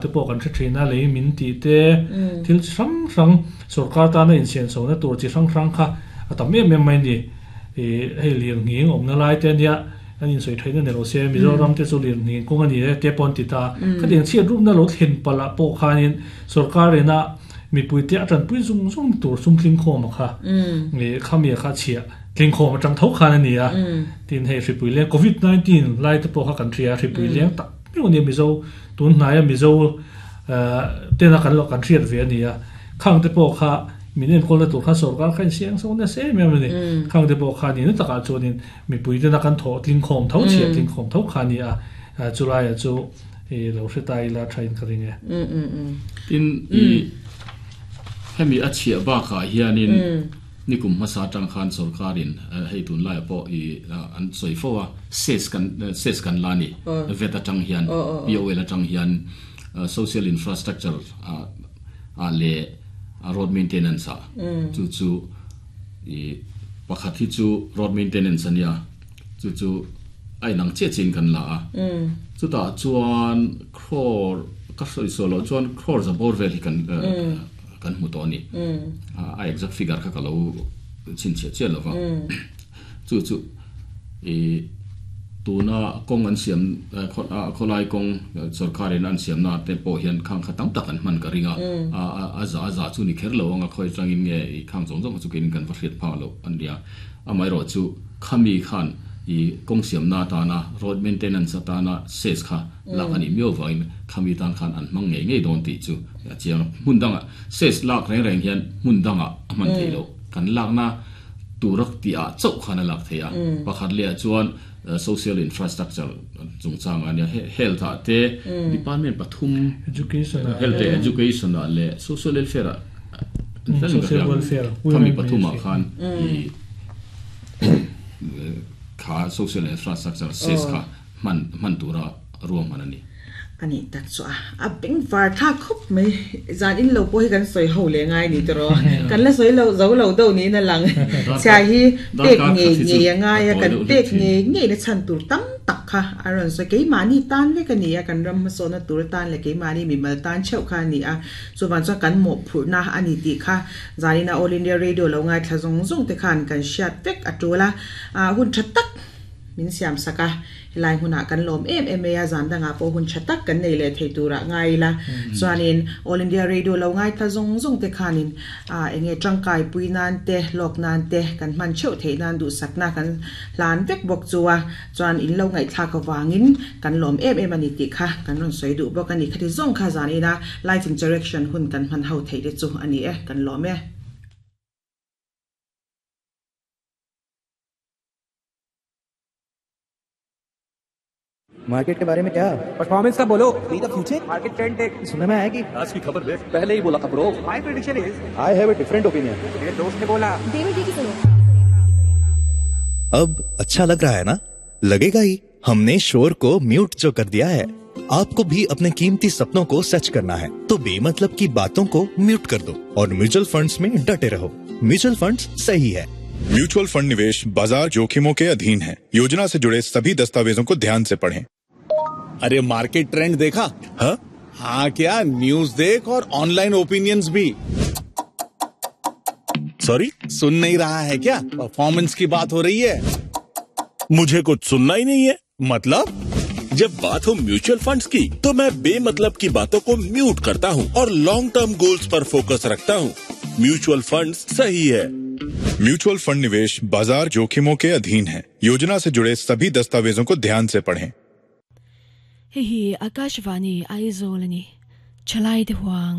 Te pawh kan hre thin a, lei min tih te, thil chi hrang hrang sorkar tana insian chhohna tur chi hrang hrang kha a tam em em mai a ni. Ih hei lirnghing awmna lai te ania an insawi theihna ni lo se, Mizoram te chu lirnghing kawng a ni e te pawh an ti ta. Khatiang chhiat rupna lo thlen palh ah pawh khanin sorkar ina mipui te a tanpui zung zung tur sum tlingkhawm a kha ih khami a kha chhiah tlingkhawm atang tho khan a ni a. Tin hei hripui leng covid 19 lai te pawh kha kan hria a, hripui leng tak meuh a nia Mizo Tun hnaia Mizo tena kan lo kan hriat ve a ni a, khang te pawh kha min enkawlna tur khan sorkar kha insiang so nasa em em a ni. Khang te pawh kha nihna takah chuanin mipui tena kan thawh tlingkhawm tho, chhiah tlingkhawm tho kha a ni a, chulaiah chu i lo hre ta ila thain ka ring e. Tin, i hemi a chhiah bakah hianin Nikum hmasa atang khan sorkarin hei tunlaiah pawh i an sawi fo a, ses kan ses kan la ni, vet atang hian, POL atang hian social infrastructure ah leh road maintenance ah chu chu i pakhat hi chu road maintenance a nia, chu chu a inang chiah chiahin kan la a, chutah chuan crore ka sawi sual loh chuan crore za bawr vel hi kan Kan hmu tawh a ni. A exact figure kha ka lo chhinchhiah chiah lo va. Chu chu i tuna kawng an siam khawlai kawng sorkarin an siamna te pawh hian khang kha tam tak an hman ka ring a. A za a za chu ni kher lo ang a, khawi atangin nge i khang zawng zawng kha chu keinin kan va hriat phak loh a nia. Amaherawh chu khami khan i kawng siamna atana road maintenance atana ses kha lak a nih miau vangin khami tan khan an hmang ngei ngei dawn tih chu a chiang a. Hmun dangah ses lak reng reng hian hmun dangah a hman theih loh. Kan lakna tura tihah chauh khan a lak theih a. Pakhat lehah chuan social infrastructure chungchangah ania health ah te department pathum health leh education ah leh social welfare ah khami pathumah khan i kha social infrastructure ses kha hman hman tura ruahman a ni. A nih tak chu a, a beng var thlak khawp mai. Zan in lo pawh hi kan sawi ho leh ngai ni tawh. Kan la sawi lo zo lo deuh niin a lang. Chhia hi pek ngei ngei a ngai a, kan pek ngei ngei na chhan tur tam tak kha a rawn sawi. Keimahni tan vek a ni a, kan ram hmasawnna tur atan leh keimahni mimal tan theuh kha a ni a. Chuvang chuan kan mawhphurhna a ni tih kha zanina All India Radio lo ngaithla zawng zawng te khan kan hriat vek a tul a. Hun tha tak min siam sak a, helai hmunah kan lawm em em mai a, zan dangah pawh hun tha tak kan nei leh thei turah ngai ila. Chuanin All India Radio lo ngaithla zawng zawng te khanin eng nge tangkai pui nan te, lawk nan te kan hman theuh theih nan duhsakna kan hlan vek bawk chu a, chuan in lo ngaihthlak avangin kan lawm em em a ni tih kha kan rawn sawi duh bawk a ni. Khati zawng kha zan ina Live Interaction hun kan hman ho theih te chu a ni e, kan lawm e. Market के बारे में क्या परफॉर्मेंस का बोलो the future market trend देख सुनने में आया कि आज की खबर देख पहले ही बोला था bro my prediction is I have a different opinion मेरे दोस्त ने बोला देवी की सुनो अब अच्छा लग रहा है ना लगेगा ही हमने शोर को म्यूट जो कर दिया है आपको भी अपने कीमती सपनों को सच करना है तो बेमतलब की बातों को म्यूट कर दो और म्यूचुअल फंड्स में डटे रहो म्यूचुअल फंड्स सही है म्यूचुअल फंड निवेश बाजार जोखिमों के अधीन है योजना से जुड़े सभी दस्तावेजों को ध्यान से पढ़ें अरे मार्केट ट्रेंड देखा हाँ? हाँ क्या न्यूज देख और ऑनलाइन ओपिनियंस भी सॉरी सुन नहीं रहा है क्या परफॉर्मेंस की बात हो रही है मुझे कुछ सुनना ही नहीं है मतलब जब बात हो म्यूचुअल फंड्स की तो मैं बेमतलब की बातों को म्यूट करता हूँ और long term goals पर फोकस रखता हूँ म्यूचुअल फंड्स सही है म्यूचुअल फंड निवेश बाजार जोखिमों के अधीन है योजना से जुड़े सभी दस्तावेजों को ध्यान से पढ़ें Hei hi Akashvani Aizawl a ni. Thalai te huang.